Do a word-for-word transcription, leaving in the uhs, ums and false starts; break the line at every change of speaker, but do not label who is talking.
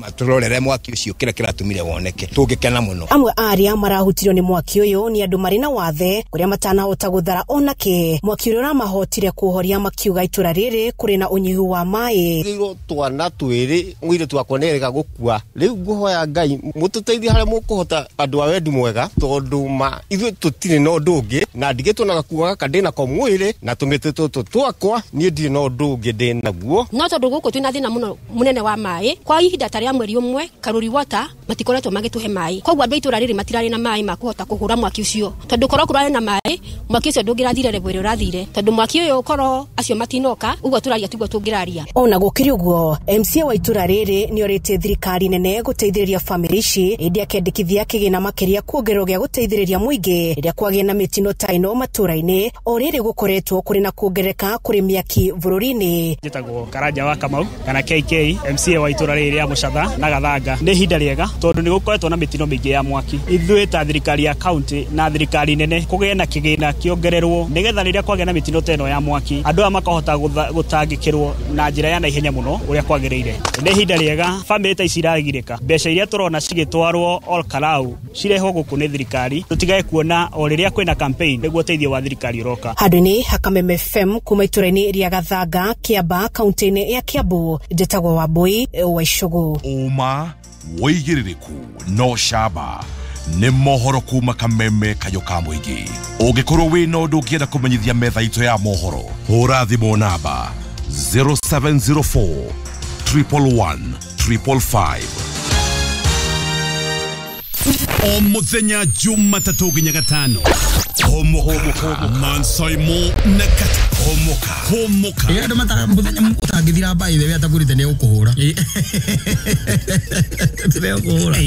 Matũrorere mwaki ũcio kĩrĩa kĩratũmire woneke, tũngĩkena mũno.
Amwe a arĩa marahutirio nĩ mwaki ũyũ nĩ andũ marĩ na wathe kũrĩa matanahota gũthara ona kĩ. Mwaki ũrĩa ũramahotire kũũhoria makiuga itũra rĩrĩ kũrĩ na ũnyihu wa maĩ.
Rĩrwo twana twĩrĩ mũirĩtu wakwa nĩerĩga gũkua. Rĩu ngũhoya Ngai mũtũteithie harĩa mũkũhota andũ a wendi mwega, tondũ ma ithuĩ tũtirĩ na ũndũ ũngĩ, na ndigĩtwo na gakuo gaka ndĩ nako mwĩrĩ na tũmĩtĩ tũtũ twakwa, niĩ ndirĩ na ũndũ ũngĩ ndĩ naguo.
No tondũ gũkũ twĩna thĩna mũno mũnene wa maĩ, kwa ihinda ta rĩa mweri ũmwe Karuri Water matikoretwo magĩtũhe maĩ, koguo andũ a itũra rĩrĩ matirarĩ na maĩ ma kũhota kũhũra mwaki ũcio, tondũ korwo kũrarĩ na maĩ mwaki ũcio ndũngĩrathire level ĩrĩa ũrathire, tondũ mwaki ũyũ korwo acio matinoka ũguo tũraria tiguo tũngĩraria.
Ona gũkĩrĩ ũguo, M C A wa itũra rĩrĩ nĩorĩtie thirikari nene gũteithĩrĩria bamĩrĩ ici, ĩndĩ akendekithia kĩgĩna makĩria kuongererwo gĩa gũteithĩrĩria mũingĩ rĩrĩa kwagĩa na mĩtino ta ĩno matũra-inĩ, o rĩrĩ gũkoretwo kũrĩ na kuongerereka kũrĩ mĩaki bũrũri-inĩ.
Njĩtagwo Karanja wa Kamau kana K K, M C A wa itũra rĩrĩ rĩa Mũcatha na Gathanga. Nĩ ihinda rĩega tondũ nĩ gũkoretwo na mĩtino mĩingĩ ya mwaki. Ithuĩ ta thirikari ya county na thirikari nene kũgĩe na kĩgĩna kĩongererwo nĩgetha rĩrĩa kwagĩa na mĩtino ta ĩno ya mwaki andũ aya makahota gũtangĩkĩrwo na njĩra ya naihenya mũno ũrĩa kwagĩrĩire. Nĩ ihinda rĩega bamĩrĩ ta ici iragirĩka, mbeca iria tũrona cigĩtwarwo Ol Kalou cirehwo gũkũ nĩ thirikari, tũtigae kuona o rĩrĩa kwĩna campaign nĩguo ũteithio wa thirikari ũroka.
Handũ-inĩ ha Kameme F M kuma itũra-inĩ rĩa Gathanga, Kĩamba, kaunti-inĩ ya Kiambu, njĩtagwo Wambui wa Icũgũ.
Ũma wĩigĩrĩrĩku no camba nĩ mohoro kuma Kameme kayo ka mũingĩ. Ũngĩkorwo wĩna ũndũ ũngĩenda kũmenyithia metha itũ ya mohoro, hũra thimũ namba zero seven zero four triple one triple five.
O muthenya Jumatatũ nginya Gatano. Homoka Mansaimo na Kata. Homoka Homoka.
Ĩ andũ mata muthenya ũtangĩthira mbaĩ we atagũrĩte nĩ ũkũhũra. Nĩ ũkũhũra.